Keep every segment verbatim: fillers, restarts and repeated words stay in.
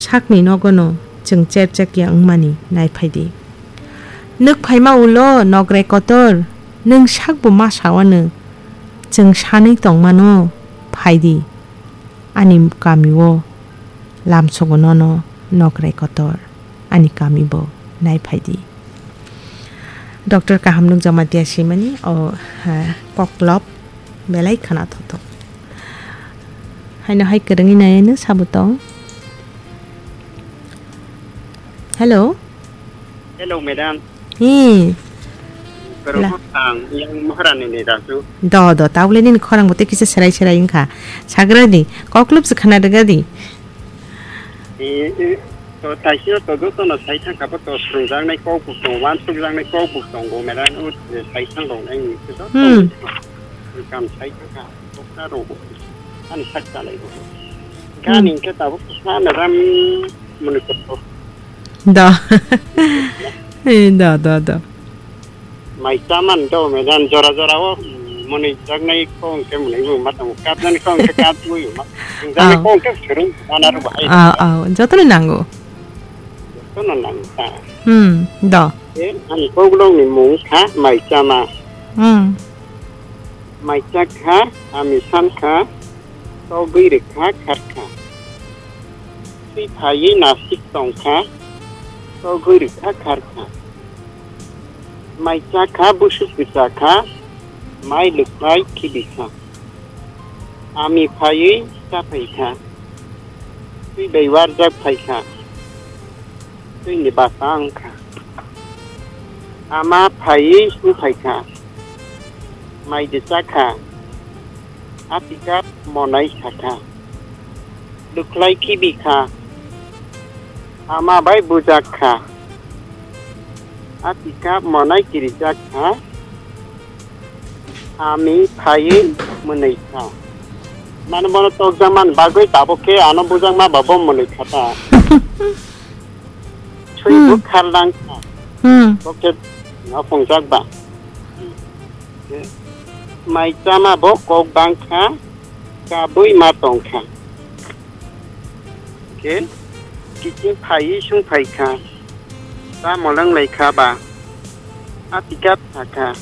sakni nogono chwng cherchak ya wngmani naiphai di. Nwk phaima ulo nokrai kotor, nwng sakbo ma sawano, chwng sanwi tongmano, phai di ani kamio, lamsogo nono nokrai kotor, ani kamibo naiphai di. Doctor kaham nukjakma tiya simani o, ha, koklop belai khwna thothok. Haino hai kwrwngwi naiano sabo tong. Hello. Hello, madam. Hi. Kwrwngkho La- ang, yang Maharani ni Raju. Do, do, tabukle nini khorang bo tei kisa serai serai wngkha. Sagra di, koklop se khwna rwga di. E, e, to taisino to jotono sai thangkha bo to swrwngjaknai kok bo tongo, uansukjaknai kok bo tongo, madam, o, e, sai thang rok nai ni se joto Hmm. Kam sai thangkha, koksa rok bo, ani sak chalai bo. Hmm. Gani hwnkhe tabuk koksa madam muni kokko. Do. E, do, do, do. Mai chaman do, madam, jora jora o, mm, mwnwi jaknai kok hwnkhe mwnwi bo ma tongo, kapnani kok hwnkhe kapwi ma. Jaknai Aw. Kok hwnkhe swrwng mana rw bahai. Aw, aw, jotono nango. Jotono nango ta. Hmm, do. E, ani koklopni mung kha mai chama. Hmm. Mai chakha, ami sankha, togwi rwkha, kharkha. Twi phaiwi nasik tongkha, togwi rwkha kharkha. Mai chakha, busuk kwchakha, mai lwkhlai khibikha. Ami phaiwi chaphaikha, twi bai warjak phaikha, twini basa wngkha. Ama phaiwi sungphaikha, mai de chakha, atikap monai sakha. Lwkhlai khibi kha. Ama bai bujak kha. Atikha monai kirijak kha. Ami phaiwi mwnwi kha. Mane bono tokjakmani bagwi tabuk khe ano bujakma ba bo mwnwi kha ta. Swi Hmm. Bo kharlang kha. Hmm. Bo khe no phungjak ba. Mai chama bo kok bang kha, kabui ma tong kha. Khe kiching phaiwi sung phai kha, ta molong lai kha ba, atikap sa kha,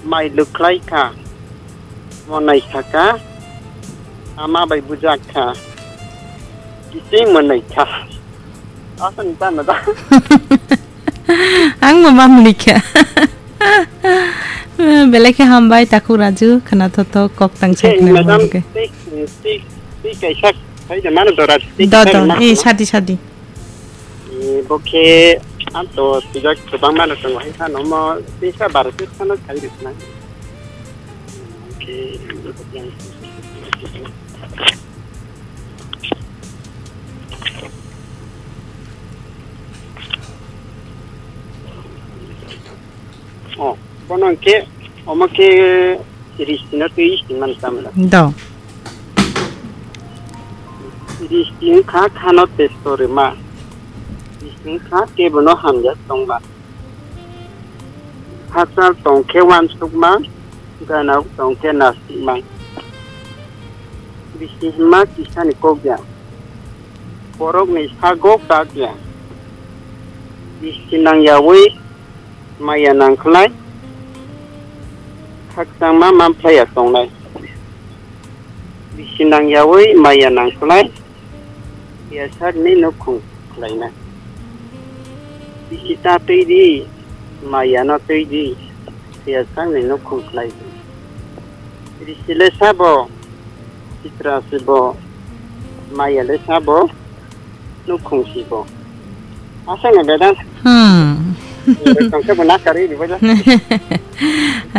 mai lwkhlai kha, monai sa kha, ama bai bujak kha, kiching monai kha. Aswk ni tamo da. Ang bo ma mwnwi kha. Belai khe hambai, takhuk Raju, khwna thothok kok tang sai khwna madam, mwnwi khe. Tei, tei, tei kaisa sai de mano dora, tei Do, kaisa do, ma eh, khwna. Sadi, sadi. Eh, bo khe ang to sijak kwbang mano tongo, hai phano mo tei sa baro tei phano sai rwkna. Okay. Oh, bono hwnkhe, omo khe risti no twi singmani chamla. Do. Risti wngkha khano testo rwma. Risti wngkha kebono hamya tongma. Hachal tongkhe wansukma, ganao tongkhe nastikma. Bisi himma kisani kok ya, borokni sago kak ya. Bisi nangyawi maya nangkhlai, khakchangma manphlaiya tongnai. Bisi nangyawi maya nangkhlai, Phiya sakni nukhung khlaina. Bisi ta twi di, maya no twi di, phiya sakni nukhung khlai di. Risi le sabo, sitra si bo, maya le sabo, nukhung si bo. Aswk no bedang. Hmm. Tongkhe bo nakarwi ribaja.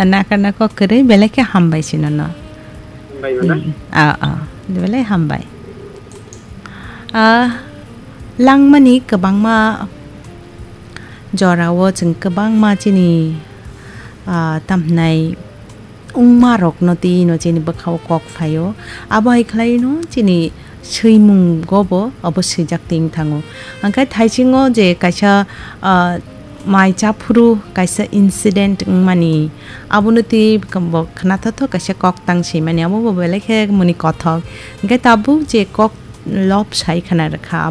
Nakar na kok kwrwi belai khe hambai sino no. Hambai mana? Hmm. Ah, ah. Belai hambai. Ah, langmani kwbangma jorao chwng kwbangma chini, ah, tamhinai wngmarokno twino chini bwkhao kok phaio. Abo hai khlaino chini swimungo bo abo swijak twi wng thango. Hwnkhe thaisingo je kaisa, ah, mai chaphuru kaisa incident wngmani, abono twi bo khwnathokthok kaisa kok tang swimani, abo bo belai khe muni kothok. Hwnkhe tabuk je kok lop sai khwna rwkha.